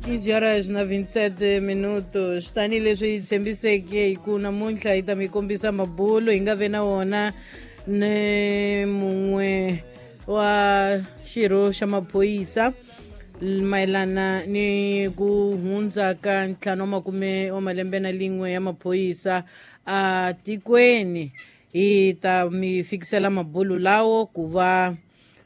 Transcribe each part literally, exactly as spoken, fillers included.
quinze horas na vinte e sete minutos. Tanihileswi hi tshembiseke hi ku namuntlha hi ta mi kombisa mabulo hi nga ve na wona ni mun'we wa xirho xa maphorisa mayelana ni ku hundza ka ntlhanu wa makume wa malembe na lin'we ya maphorisa a tikweni. Hi ta mi fikisela mabulo lawo ku va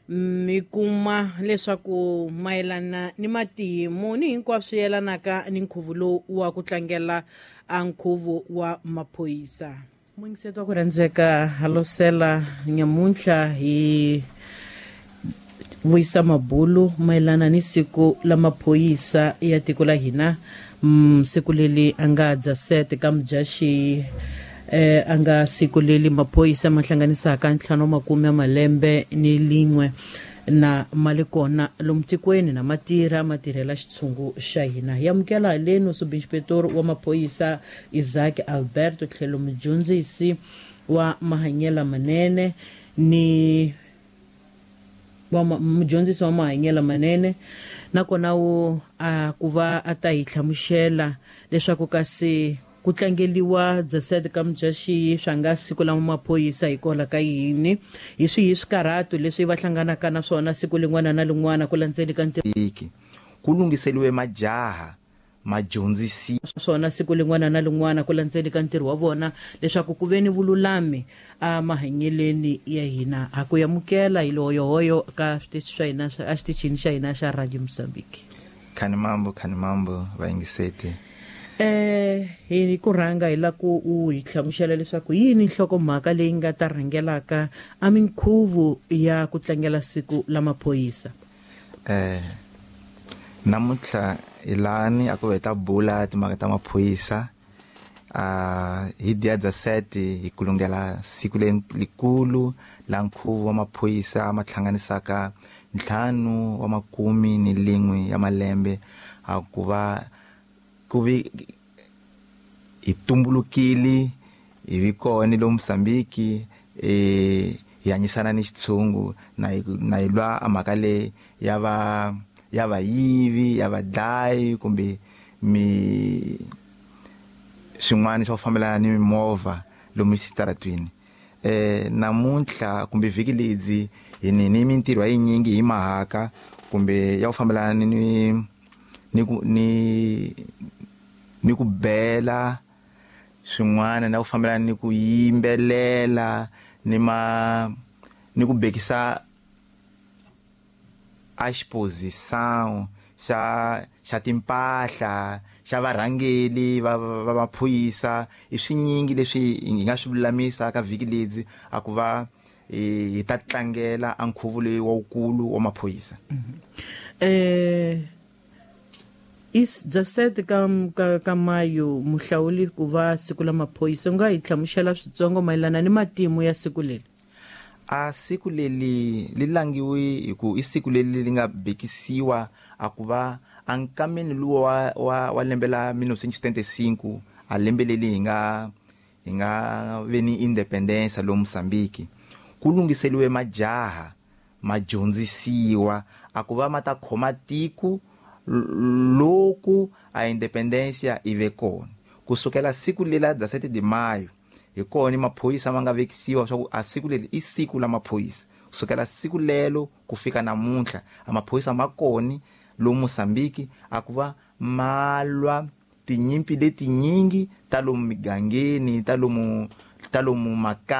mi kuma leswaku mayelana ni matimu ni hinkwaswo yelanaka ni nkhuvo lowu wa ku tlangela a nkhuvo wa maphorisa. Muyingiseti wa ku rhandzeka, halosela nyamuntlha hi vuyisa mabulu mayelana ni siku la maphorisa ya tiko la hina, mm, siku leri a nga dza sete ka Mudyaxihi, eh a nga siku leri maphorisa ma hlanganisaka ntlhanu wa makume ya malembe ni lin'we na ma le kona lomu tikweni na ma tirha ma tirhela xitshungu xa hina. Hi amukela haleni subinspektor wa maphorisa Isaac Alberto, tlhelo mudyondzisi wa mahanyelo manene ni wa mudyondzisi wa mahanyelo manene, nakona wu a ku va a ta hi hlamusela leswaku kasi ku tlangeliwa dezessete ka Mudyaxihi swa nga siku la maphorisa hikwalaho ka yini, hi swihi swikarhato leswi va hlanganaka na swona siku lin'wana na lin'wana ku landzeni ka ntirho. Iki ku lunghiseliwe majaha ma dyondzisi swona siku lin'wana na lin'wana ku landzeni ka ntirho wa vona leswaku ku ve ni vululami a mahanyeleni ya hina. Ha ku amukela hi lohoyohoyo ka switichi swa hina, a xitichini xa hina xa Radio Mozambique. Khani mambo, khani mambo vayingiseti. eh hi ku rhanga hi la ku u hi hlamusela leswaku yini nhlokomhaka leyi nga ta rhangelaka a minkhuvo ya ku tlangela siku la maphorisa? eh namuntlha hi lani a ku hi ta bula timhaka ta maphorisa. A hi dia dezessete hi kulungela siku lelikulu la nkhuvo wa maphorisa ma hlanganisaka ntlhanu wa makumi ni lin'we ya malembe a ku va ku vi hi tumbulukile, hi vi kona lomu Mozambique, eh hi hanyisana ni xitshungu na hi na hi lwa a mhaka leyi ya va ya vayivi, ya vadlayi kumbe mi swin'wana swa ku fambelana ni mimovha lomu xitaratwini. eh namuntlha kumbe vhiki ledzi hi ni ni mintirho ya yinyingi hi mahaka kumbe ya ku fambelana ni ni ku ni ni ku bela swin'wana na ku fambelana ni ku yimbelela ni ma ni ku bekisa a exposição xa xa timpahla xa varhangeli va va maphorisa. I swinyingi leswi hi nga swi lulamisa ka vhiki ledzi a ku va hi ta tlangela a nkhuvo leyi wawukulu wa maphorisa. eh is dezessete ka ka, ka mayo muhlawuli ku va siku la maphorisa, u nga hi hlamusela switsongo mayelana ni matimu ya siku leri? A siku leri li langiwi hi ku i siku leri li nga bekisiwa a ku va a nkameni luwa wa, wa, wa lembe la mil novecentos e setenta e cinco, a lembe leri hi nga hi nga ve ni independence lomu Mozambique, ku lunghiseliwe majaha ma dyondzisiwa a ku va ma ta khoma tiko loku a independencia i ve kona. Kusukela siku lela dezessete de maio hi kona maphorisa ma nga vekisiwa swa ku a siku leri i siku la maphorisa. Kusukela siku lelo ku fika namuntlha a maphorisa ma koni lomu Mozambique a ku va ma lwa tinyimpi letinyingi ta lomu migangeni, ta lomu ta lomu makaya.